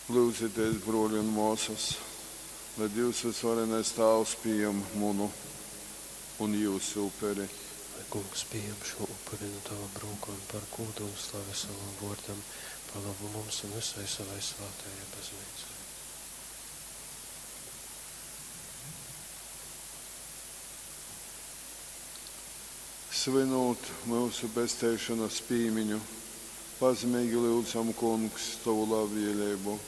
Lyudzitēs, brōli un mōsas, lai Dīvs vysvarenais Tāvs pījam munu un jyusu uperi. Lai Kungs pījam šū upuri nu tovom rūkom par gūdu un slavi sovam vōrdam, par lobu mums un vysai sovai svātajai Bazneicai. Svynūt myusu pesteišonas pīmiņu, pazemeigi lyudzam, Kungs, tovu labvēleibu,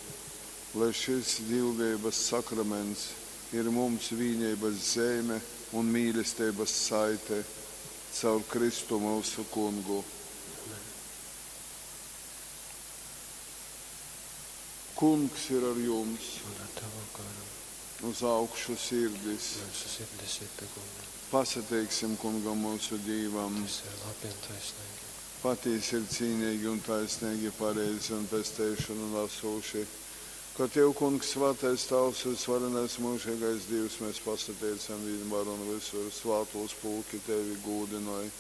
lai šys dīvbejeibas sakraments ir mums vīneibas zeime un mīlesteibas saite caur Kristu myusu Kungu. Amen. Kungs ir ar jums. Un ar tavu garu. Uz augšu sirdis. Myusu sirdis ir pie Kunga. Pasateiksim Kungam myusu Dīvam. Tas ir labi un taisnīgi. Patīsi ir cīnīgi un taisnīgi, pareizi un pesteišonu nasūši, ka Tev, Kungs, svātais Tāvs, vysvarenais myužeigais Dīvs, mēs pasateicam vienmēr un visur, svātūs pulki Tevi gūdinoj.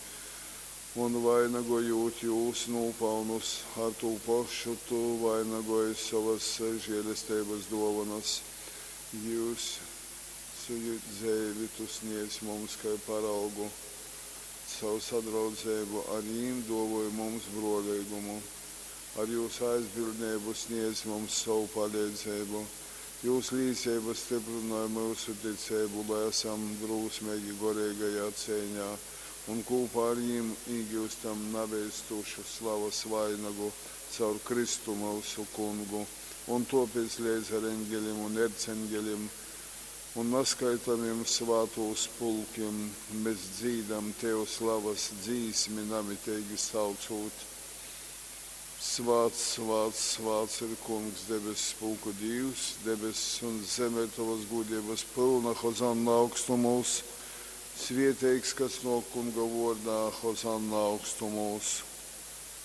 Un vainagojot jūs nūpalnus, ar tū pašu Tu vainagoj sovas žēlesteibas dōvonas. Jūs dzeivi Tu sniedz mums kai paraugu, caur sadraudzeibu ar jīm duovoj mums bruoleigumu, ar jūs aizbildneibu sniedz mums sovu paleidzeibu. Jūs līceiba styprynoj myusu ticeibu, lai esam drūsmeigi goreigajā ceiņā un kūpā ar jim īgiustam naveistūšu slavas vainagu caur Kristu myusu Kungu. Un tōpēc leidz ar eņgelim un erceņgelim un naskaitamim svātūs pulkim mēs dzīdam Tev slavas dzīsmi namiteigi saucūt: Svāts, svāts, svāts ir Kungs, debess pulku Dīvs, debess un zeme ir tovas gūdeibas pylna, Hozanna augstumūs. Svieteigs, kas nōk Kunga vōrdā, Hozanna augstumūs.